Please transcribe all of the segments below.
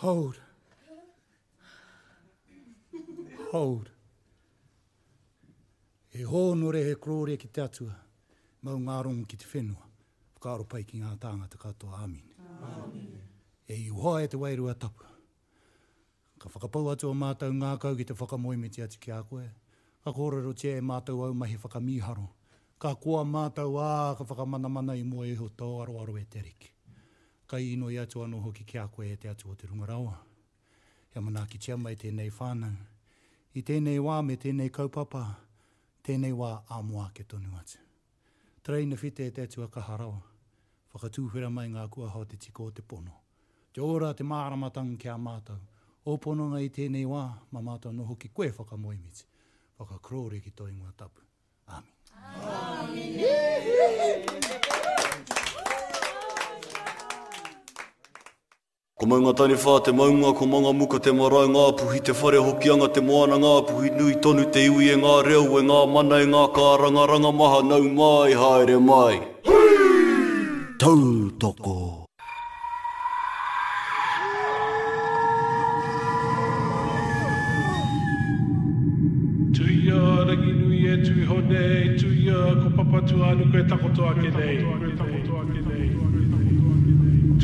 Hold. Hold. He hōnore, he korōria ki te Atua, mau ngā rongo ki te whenua, whakaaro pai ki ngā tāngata katoa. Āmine. E Ihoa e te Wairua Tapu, ka whakapau atu o mātou ngākau ki te whakamoemiti atu ki a koe, ka kōrerotia e mātou au mahi whakamīharo, ka koa mātou, ā, ka whakamanamana i mua iho tō aroaro e te Ariki. Ka inoi atu anō hoki ki a koe e te Atua o te Runga Rawa, kia manaakitia mai tēnei whānau i tēnei wā me tēnei kaupapa, tēnei wā ā mua ake tonu atu. Tereina white e te Atua kaha rawa, whakatūwhera mai ngā kuaha o te tika o te pono, te ora, te māramatanga ki a mātou, ō pononga i tēnei wā, mā mātou anō hoki koe whakamoemiti, whakakorōria ki tō ingoa tapu. Āmine. Ko Maungataniwha te maunga, ko Mangamuka te marae, Ngāpuhi te whare, Hokianga te moana, Ngāpuhi nui tonu te iwi e ngā reo, e ngā mana, e ngā kārangaranga maha, nau mai, haere mai. Tautoko. Tuia Ranginui e tū iho nei, tuia ko Papatūānuku e takoto ake nei.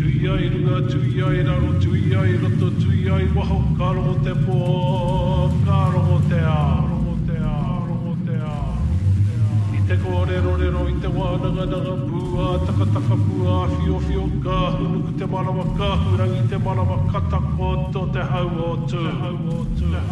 Tuia i runga, tuia i raro, tuia i roto, tuia i waho, ka rongo te pō, ka rongo te ao. I te kōrerorero, i te wānangananga, pū ā-takataka, pū ā-whiowhio, ka hunuku te manawa, ka hurangi te manawa, ka takoto te hau o Tū.